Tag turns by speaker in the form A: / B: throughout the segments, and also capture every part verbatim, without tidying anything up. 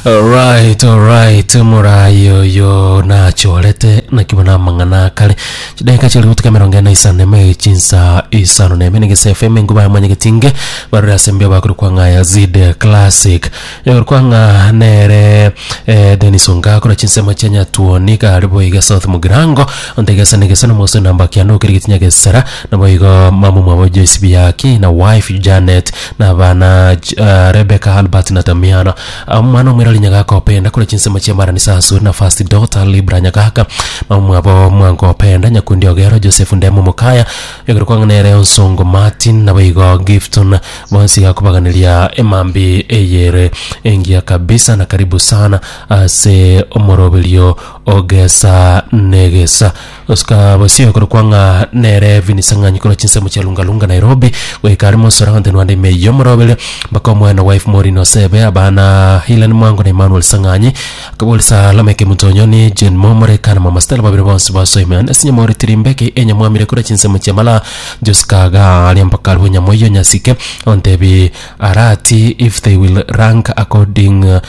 A: Alright, alright, morai oyo nachorete naki bona amang'ana akare chidakika chiri gotuka emerongo ene isano eme chinsa isano na eme nigese F M enguba ya mwanyagetinge barore ase mbio bakorokwa ng'a Yazid Classic yakorokwa ng'a nere eh, Dennis Ongakora chinsemo chia Nyatuoni kare boiga South Mugirango ontegesa nigese nomoso namba kianda okeri getinya gesera naboigo mama mwabo Joyce Biaki na wife Janet na abana uh, Rebecca, Albert na Damiano. Omwana omwirori Nyagaka Openda kore chinsemo chia Marani Sasuri na first daughter Libra Nyagaka, mama mwabo Mwango Openda, Nyakundi Ogero, Joseph Ndemo Mukaya yokorokwa nere Onsongo Martin naboigo Gifton bonsi gakobaganiria emambi eyere engiya kabisa na karibu sana ase omoroberio ogesa negesa osika bosio korokwa ng'a nere Vinisang'anyi korwa chinsemo chia Lungalunga Nairobi goika ari mosora gontenwande ime yomoroberio mpaka omwana wife Maureen Osebe, abana Helen Mwango na Emmanuel Sang'anyi, akabolisa Lameke Mutonyoni, Jane Momore kana Mama Stella babiri bonsi basoime ase nyamori tirimbeke enyamwamire korwa chinsemo chia Mala Josikaga aria mpaka aribo nyamoiyo nyasike ontebi arati if they will rank according uh,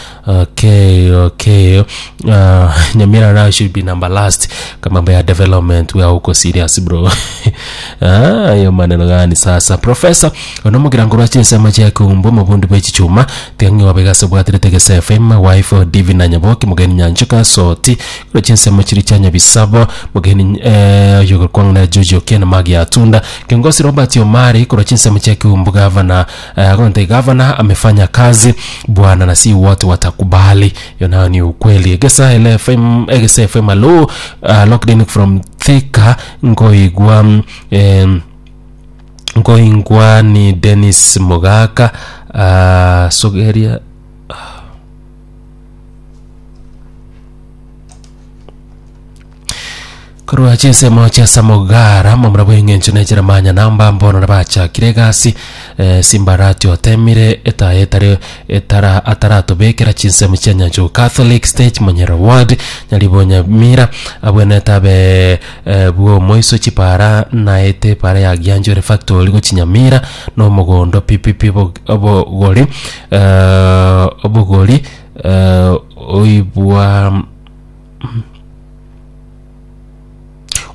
A: okay okay uh, Nyamira now should be number last kwa mambo ya development. We are huko serious, bro. Ah, hiyo maneno gani sasa? Professor onomugira ngo rwachinsemo chia kumbu mubundi bwe chichuma tiang'i wabegase bwatirete Gese F M, wife Divina Nyaboki, mugeni Nyanchuka Soti kuro chinsemo chiri chia Nyabisabo, mugeni eh, yogokwang'na Jojo Ken Magi Atunda, kiongozi Robert Omari kuro chinsemo chia Kiumbu, gavana eh, gonte gavana amefanya kazi bwana na si wote watakubali, hiyo nayo ni ukweli. Gesa F M, Gesa F M alo uh, locked in from Thika ngoigwa eh, ngoingwa ni Dennis Mugaka uh, sogeria. Korwa chinsemo chia Samogara momura bweng'encho nechera manya namba mbono nabachakire egasi eh, simbarati otemire etaye etare etara ataratobekera chinsemo chia Nyancho Catholic Stage Monyera Ward Nyaribo Nyamira abwenete abe eh, bwo moiso chipara naete para ya Gianjore Factory gochinyamira nomogondo P P P obogori eh, obogori eh, oibwa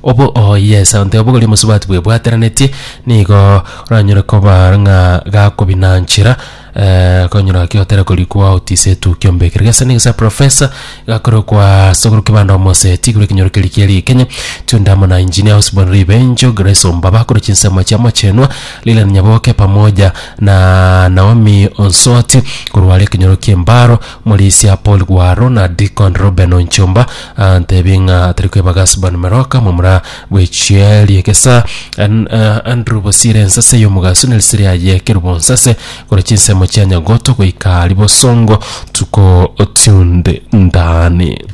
A: obo. Oh yes, ante obogori musubati bwebwateranetie nigo oranyore koba ng'a gakobinanchera eh, konyora kiotera korikwa otise tukio mbekere gesa nigesa professor gakorokwa sokoro kibanda omoseti kuri kinyoro keri kieri Kenya tundamo na engineer Osborn Ribenjo, Grace Ombaba kuri chinsemo chia Mochenwa, Lilian Nyaboke pamoja na Naomi Onsoti kurwale kinyoro kiembaro Mulisia Paul Gwaro na Deacon Ruben Onchomba antebi ng'a atari kwebaga Osborn Meroka mumura bwechieri ekesa An, uh, Andrew Bosire ensase y'omugaso nerisiri aye kerubo nsase kuri chinsemo chia Nyagoto goika Libosongo tuko tunde ndani.